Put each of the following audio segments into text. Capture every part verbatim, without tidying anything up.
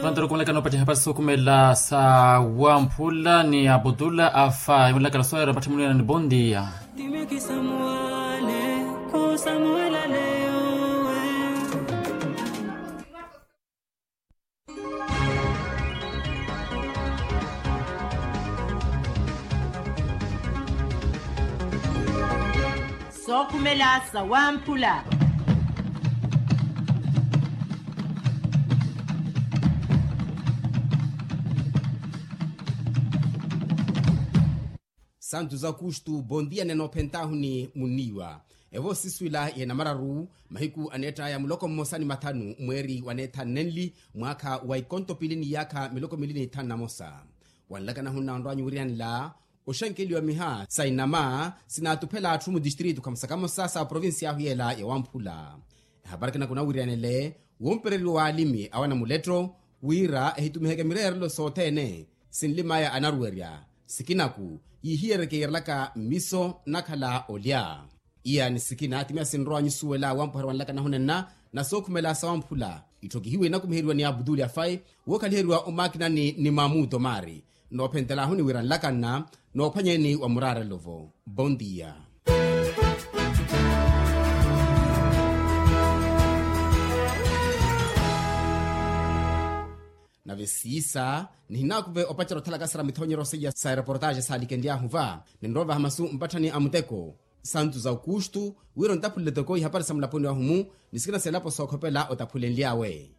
Vantaru kumulekana opattiha pasi sokhumela sa wamphula ni aputula afa imulekana soyera patthi muliyana ni bondia. Sookhumela sa wamphula. Santu za kustu bondia nene ophentahuni muniwa. Evo siswila yenamararu mahiku aneettaya muloko mmosa ni mathanu mweeri waneethanenli mwaakha wa ikonto piili ni yaakha miloko miili ni ithanu na mosa. Wanlakana hunnanrwanyu wiriyanla oxenkeliwa miha sa inama sinaatuphela atthu mudistritu khamusakamosa sa provincia ahu yeela ya wamphula. Ehapari kinakunawiriyanele wumpereriwa waalimi awana muletto wira ehitumiheke mireerelo sothene sinlimaya anaruwerya sikinaku yiihiyereke yiirelaka mmiso nakhala olya. Iya ni sikina timiya sinrowa nyusuwela wampuherya wanlakana hunenna na sookhumela sa wamphula itthokihiwe inakumiheriwa ni abuduli afai wookhaliheriwa omakinani ni mamuto maari. Noophentelahu ni wira nlakanna noophwanyeni wa muraarelo-vo. Bondia. Nave siisa nihinaakuve opacerya othalakasera mithonyeryo seiya sa ereportaxe saalikenlyaahu va ninrovaha masu mpatthani a muteko. Santu za okustu wira ontaphulele toko ihapari sa mulaponi wahu-mu ni sikina seelapo sookhopela otaphulenly'awe.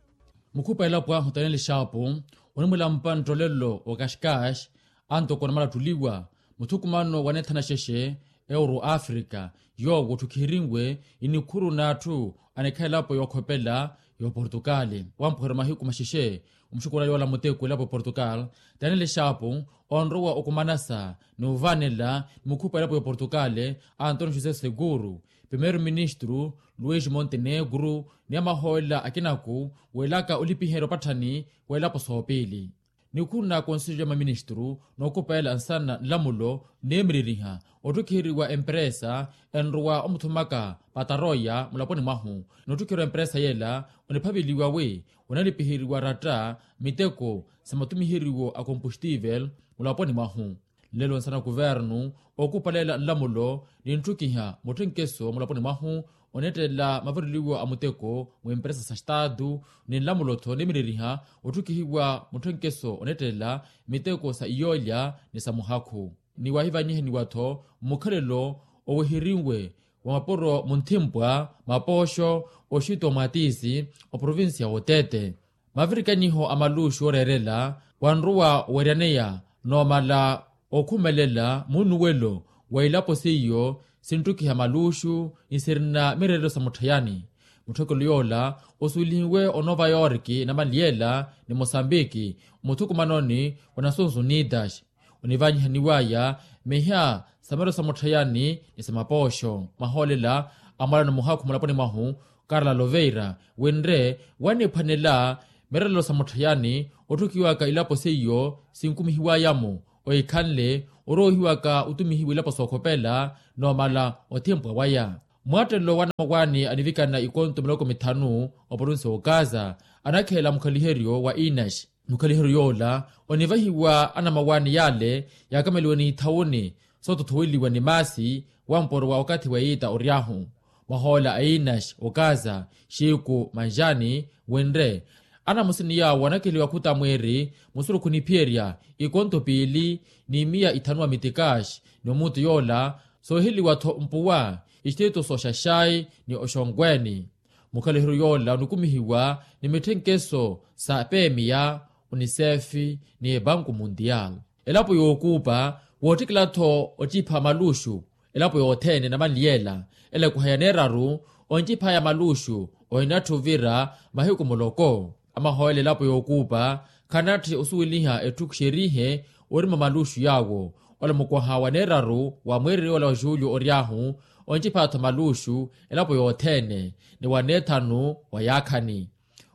Mukhupa elapo ahu taneli xaapu onimwilampa nttolelo wa kaxkax antoko namala attulliwa muthukumano wa neethana xexe euro afrika yoowo otthukhirinwe inikhuru n'atthu anikhala elapo yookhopela y'oportukali wampuherya mahiku maxexe. Omuxukuula yoola muteko elapo y'oportukali taneli xaapu onrowa okumanasa ni ovaanela ni mukhupa elapo y'oportukali antonio josé seguru primeiru ministru luis montenegru ni amahoolela akinaku weelaka olipiherya opatthani w'elapo soopiili. Nikhuna konselho ya maministru nookupeela nsana nlamulo neemireriha otthukiheriwa emperesa enrowa omuthumaka pataroya mulaponi mwahu. Nootthukiheriwa emperesa yeela oniphaveliwa wi onalipiheriwa ratta miteko sa matumiheriwo a kompustivel mulaponi mwahu. Nlelo nsana kuvernu okupalela nlamulo ninttukiha mutthenkeso mulaponi mwahu onettela mavareliwo a muteko mwimperesa sa staatu ni nlamulo-tho neemireriha otthukihiwa mutthenkeso onettela miteko sa iyoolya ni sa muhakhu. Ni wahivanyihaniwa-tho mmukhalelo oweherinwe wa mapuro munthimpwa mapooxo oxitwa mwaatiisi oprovincia wotete. Mavirikanyiho a maluxu ooreerela wanrowa oweryaneya noomala okhumelela muunuwelo wa ilapo seiyo sinttukiha maluxu ni sirina mireerelo sa mutthayani. Mutthokelo yoola osuwelihiwe onoova yorki namanliyela ni mosambiki muthukumanoni wa nations unidas. Onivanyihaniwaya miha sa mireerelo sa mutthayani ni sa mapooxo mahoolela amwalano muhakhu mulaponi mwahu karla loveira winre waniphwanela mireerelo sa mutthayani otthukiwaka ilapo seiyo sinkumihiwaya-mo ohikhanle oroohiwaka otumihiwa ilapo sookhopela noomala othimpwa waya. Mwattelelo wa anamawaani anivikana ikonto miloko mithanu oprovinsi wa okaza anakheela mukhaliheryo wa inaxi. Mukhaliheryo yoola onivahiwa anamawaani yaale yaakameliwe n'ithawuni sootothoweliwa ni maasi wampuro wa okathi wa iita ory'ahu. Mwahoola a inaxi okaza xiku manxani winre anamusini yaawo anakeliwa khuta mwiiri musurukhu niphiyerya ikonto piili ni miya ithanu wa mitikaxi ni omuntu yoola sooheliwa-tho mpuwa ixtito sooxaxai ni oxonkweeni. Mukhaliheryo yoola onikumihiwa ni mitthenkeso sa pemiya unisefi ni banku mundial. Elapo yookuupa woottikela-tho ocipha maluxu elapo yothene namanliyela ela ekuha ya neeraru onciphaya maluxu ohinatthu ovira mahiku muloko. Amahoolela elapo yookuupa khanatthi osuweliha etthu xerihe orima maluxu yaawo. Ola mukwaha wa neeraru wa mweereryo ola wa julio ory'ahu oncipha-tho maluxu elapo yothene ni wa neethanu wa yaakhani.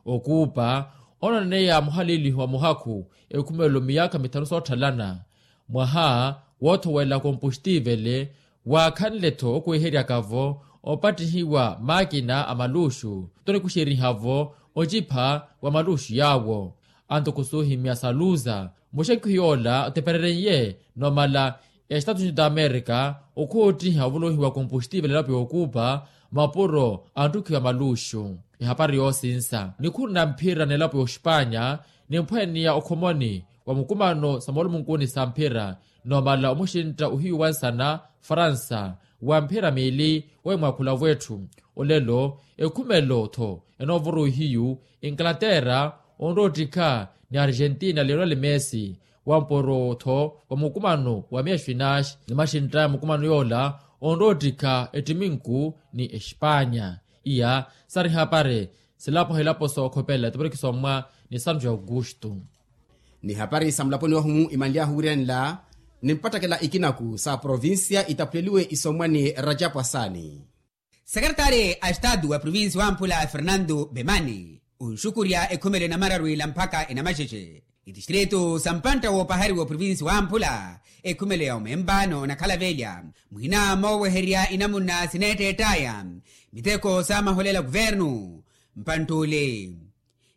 Okuupa onaneya muhaliilihi wa muhakhu ekhumelo miyaakha mithanu sootthalana mwaha woothowela kompustiivele waakhanle-tho okuweheryaka-vo opattihiwa maakina a maluxu. Tonikuxeriha-vo ocipha wa maluxu yaawo. Antuku suuhimya saluza muxekwihi yoola otepererennye n'omala estatu unido amerika okhoottiha ovolohiwa kompustivel elapo y'okupa mapuro antukhiwa maluxu. Ehapari yoosinsa nikhuru na mphira n'elapo y'oxipanya nimphwaniya okhomoni wa mukumano sa moolumunkuni sa mphira n'omala omuxintta ohiyu wansana faransa wa mphira miili. Wemwaakhula wetthu olelo ekhumelo-tho enoovuru ihiyu inglaterra onroottikha ni argentina leonel messi wa mporo-tho wa mukumano wa miya xwinaxi ni maxintta ya mukumano yoola onroottikha ettiminku ni exipanya. Iya sari hapari silapo hilapo sookhopela tiporiki sommwa ni santu ya augusto. Ni hapari sa mulaponi wahu imanly'ahu wiirenla ni mpattakela ikinaku sa provincia itaphuleliwe isommwa ni rajapu asani. Sekeretari a estatu wa provincia wamphula fernando bemani onxukurya ekhumelo enamararu ila mpakha enamaxexe itistritu sa mpantta woopahariwa oprovincia wamphula ekhumelo ya omemba n'onakhala velya muhina moowehererya inamunna sineetteett'aya miteko saamaholela kuvernu mpantt'ule.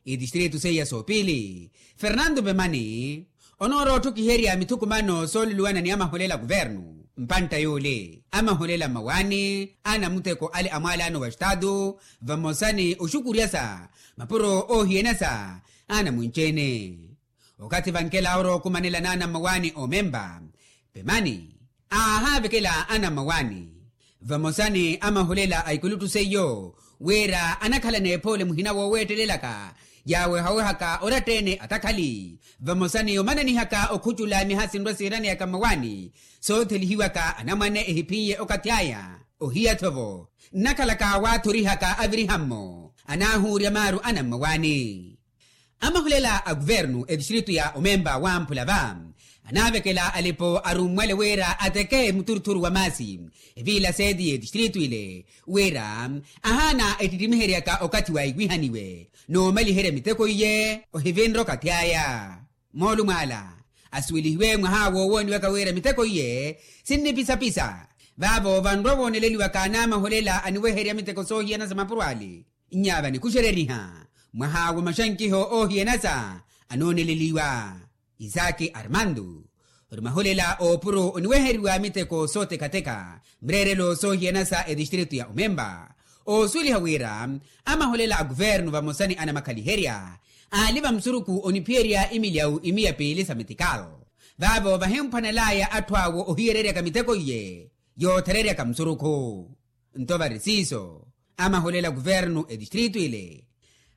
Itistritu seiya soopili fernando pemani onoorotthukiherya mithukumano sooluluwana ni amaholela a kuvernu mpantta yoole amaholela mmawaani a namuteko ale a mwaalano wa estatu vamosa ni oxukuryasa mapuro oohiyanasa a namunci-ene. Okathi vankela orowa okumanela n'ana mmawaani oomemba pemani aahaavekela ana mmawaani vamosa ni amaholela a ikuluttu seiyo wira anakhala n'ephoole muhina wooweettelelaka yaawehawehaka oratta-ene atakhali vamosa ni omananihaka okhucula miha sinrwa siiraneyaka mmawaani soothelihiwaka anamwane ehiphiye okathi aya ohiya-tho-vo nnakhalaka waathorihaka aviriha-mmo anaahuurya maaru ana mmawaani. Amahulela a kuvernu etistritu ya omemba wamphula va anaavekela alipo arummwale wira ateke muthuruturu wa maasi eviila seeti y'etistritu ile wira ahaana ettittimiheryaka okathi waaiwihaniwe n'omaliherya miteko iye ohivinre okathi aya. Moolumo ala asuwelihiwe mwaha woowooniwaka wira miteko iye sinnipisapisa vaavo vanrwa vooneleliwaka n'amahulela aniweherya miteko soohiyana sa mapuro ale nnyava nikuxereriha mwaha wa maxankiho oohiyanasa anooneleliwa. Isaki armando ori mahulela oopuro oniweheriwa miteko sootekateka mreerelo soohiyanasa etistritu ya omemba oosuweliha wira amahulela a kuvernu vamosa ni anamakhaliherya aali va musurukhu oniphiyerya imilyawu imiya piili sa metikal vaavo vahimphwanelaya atthu awo ohiyereryaka miteko iye yoothereryaka musurukhu. Nto vari siiso amahulela kuvernu etistritu ile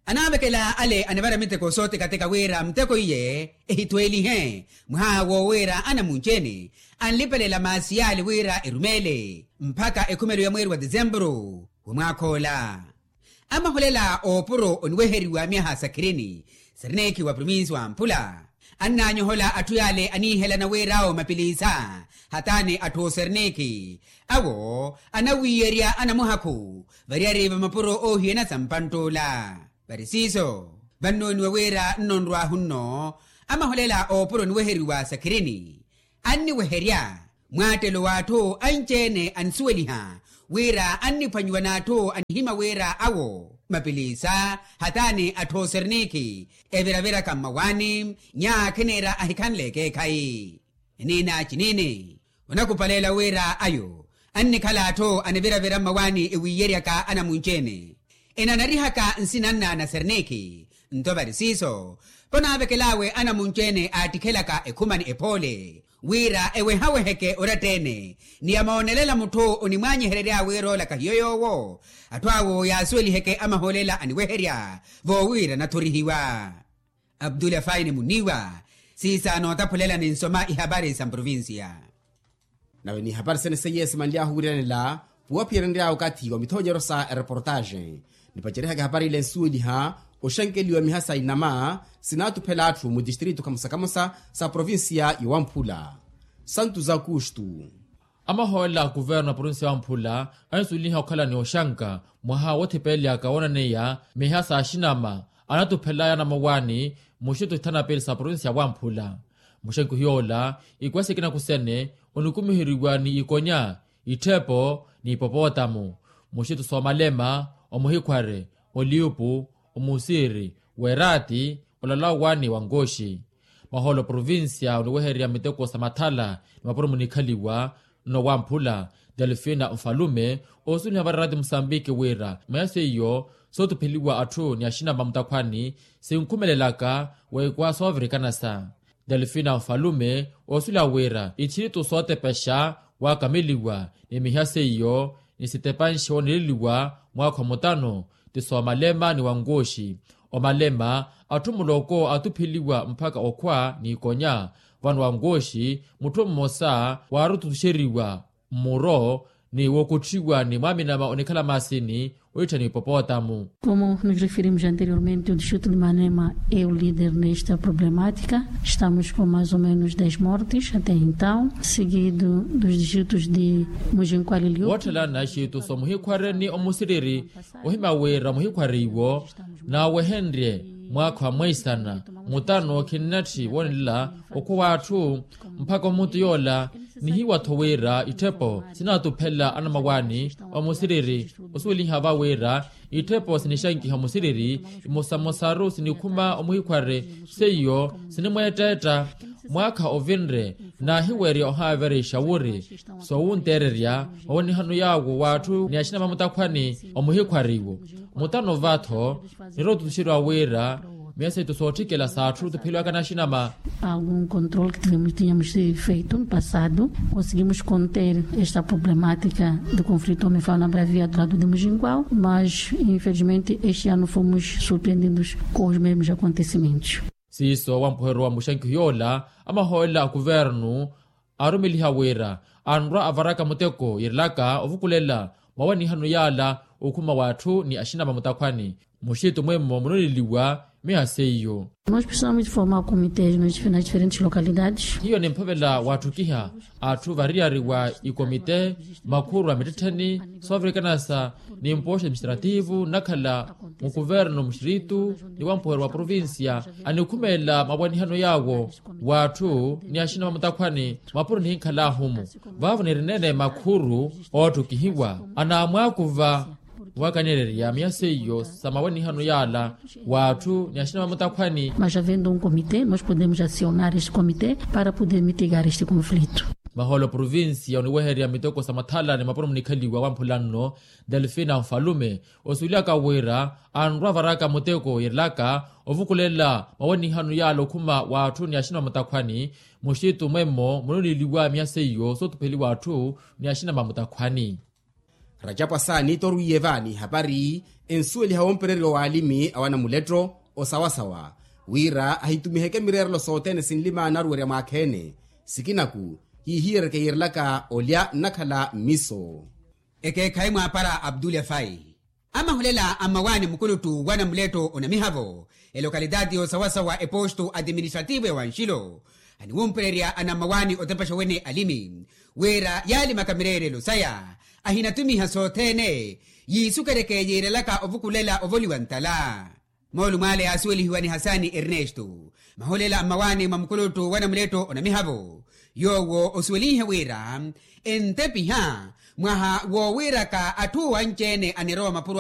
anaavekela ale anivara miteko sootekateka wira muteko iye ehitweelihe mwaha woowiira anamunci-ene anlipelela maasi yaale wira erumeele mpakha ekhumelo ya mweeri wa tisempuru wa mwaakha ola. Amahulela oopuro oniweheriwa myaha sakirini siriniikhi wa provinsi wa mphula annaanyohola atthu yaale aniihelana wira awo mapiliisa hataani atthu osiriniikhi awo anawiiyerya anamuhakhu variyari va mapuro oohiyana sa mpantt'ula. Vari siiso vannooniwa wira nnonrw'ahu nno amahulela oopuro oniweheriwa sakirini anniweherya mwaattelo w'atthu anci-ene anisuweliha wira anniphwanyiwa n'atthu anihimya wira awo mapiliisa hataani atthu osiriniikhi eviraviraka mmawaani nyakhi niira ahikhanle ekeekhayi. Eniina ciniini onakupaleela wira ayo annikhala atthu aniviravira mmawaani ewiiyeryaka anamunci-ene enanarihaka nsina nna nasiriniikhi. Nto vari siiso vanaavekel'awe anamunci-ene aattikhelaka ekhumani ephoole wira ewehaweheke oratta-ene ni amoonelela mutthu onimwaanyiherery'awe wira oolaka hiyo yoowo atthu awo yaasuweliheke amahoolela aniweherya voowiira anathorihiwa. Abdula faini muniiwa siisaana ootaphulela ni nsoma ihapari sa mprovincia. Nawe n'ihapari sene seiye simanly'ahu wiiranela puwaphiyerenry'awe okathi wa mithoonyeryo sa ereportaxe nipacerihaka ehapari ile nsuweliha oxenkeliwa miha sa inama sinaatuphela atthu mu tistritu kamosa kamosa sa provincia ya wamphula. Santu za kustu. Amahoolela a kuvernu a provincia ya wamphula anisuweliha okhala ni oxanka mwaha woothipelelyaka woonaneya miha sa axinama anatuphelaya anamowaani muxitu ithana pili sa provincia ya wamphula. Muxenkihi yoola ikwesikina kusene onikumiheriwa ni ikonya itthepo ni ipopotamu muxitu soomalema omuhikhware oliupu Omusiri w'eraati olala owaani wa nkooxi. Mahoolo provincia oniwehererya miteko sa mathala ni mapuro munikhaliwa nno wamphula delfina nfalume osuweliha varaati musambiki wira mweya seiyo sootupheliwa atthu ni axinama mutakhwani sinkhumelelaka weekwa soovirikanasa. Delfina nfalume osuweliha wira itthiritu sootepexa waakameliwa ni miha seiyo ni sitepanxe wooneleliwa mwaakha omutano ti soomalema ni wankooxi. Omalema atthu muloko atupheliwa mpakha okhwa n'ikonya vano wankooxi mutthu mmosa waarututuxeriwa mmuro ni wookutthiwa ni mwaaminama onikhala maasini oittha ni ipopootamu. Como nos referimos anteriormente o distrito de manema é o líder nesta problemática. Estamos com mais ou menos dez mortes até então seguido dos distritos de mujinkwalilio. Wootthelana xiituso muhikhware ni omusiriri ohimya wira muhikhware iwo naawehenrye mwaakha wa mweisana mutano khinnatthi woonelela okhwa w'atthu mpakha omutu yoola. Nihiwa-tho wira itthepo sinaatuphela anamawaani omusiriri osuweliha va wira itthepo sinixankiha omusiriri imosamosaru sinikhuma omuhikhware seiyo sinimweetteetta mwaakha ovinre naahiwerya ohaaverexa wuri soowunteererya mawanihano yaawo w'atthu ni axinama mutakhwani omuhikhwariwo. Mutano va-tho nirootutuxeriwa wira miya seitu sootthikela s'atthu tupheliwaka n'axinama. Algum controle que tivemos tínhamos feito no passado conseguimos conter esta problemática do conflito homefal na bravia do lado de mujingual mas infelizmente este ano fomos surpreendidos com os mesmos acontecimentos. Siiso wampuheryo wa muxankiho yoola amahoolela a kuvernu aarumeliha wira anrwa avaraka muteko yiirelaka ovukulela mawanihano yaala okhuma w'atthu ni axinama mutakhwani muxitu mwemmo munoneliwa miha seiyo. Nós precisamos de formar comités nas diferentes localidades. Hiyo nimphavela waatthukiha atthu variyari wa ikomite makhuru a mittettheni soovirikanasa ni mpooxa administrativu nnakhala mukuvernu muxiritu ni wampuheryo wa provincia anikhumelela mawanihano yaawo w'atthu ni axinama mutakhwani mapuro nihinkhala ahumu vaavo nirineene makhuru ootthukihiwa anaamwaakuva wakanirerya miya seiyo sa mawanihano yaala w'atthu ni axinama mutakhwani. Mas havendo um comité nós podemos acionar este comité para poder mitigar este conflito. Mahoolo provincia oniwehererya miteko sa mathala ni mapuro munikhaliwa wamphula nno delfina nfalume osuwelihaka wira anrwa avaraka muteko yiirelaka ovukulela mawanihano yaala okhuma w'atthu ni axinama mutakhwani muxitu mwemmo munoneliwa miya seiyo sootupheliwa atthu ni axinama mutakhwani. Rajapu asaani torwiye vaani hapari ensuweliha wompereriwa w'alimi a wanamuletto osawasawa wira ahitumiheke mireerelo sothene sinlima naruwerya mwaakheene sikinaku kiihiyerereke yiirelaka olya nnakhala mmiso. Ekeekhayi mwaapara abdul efai amahulela a mmawaani mukuluttu wanamuletto onamihavo elokalitaati y'osawasawa epostu atiministrativu ya wanxilo aniwumpererya anammawaani otepexa wene alimi wira yaalimaka mireerelo saya ahinatumiha sothene yiisukeryeke yiirelaka ovukulela ovoliwa ntala. Moolumo ale yaasuwelihiwa ni hasani ernesto mahulela a mmawaani mwa mukuluttu wanamuletto onamihavo yoowo osuwelinhe wira entepiha mwaha woowiraka atthu owanci-ene anirowa mapuro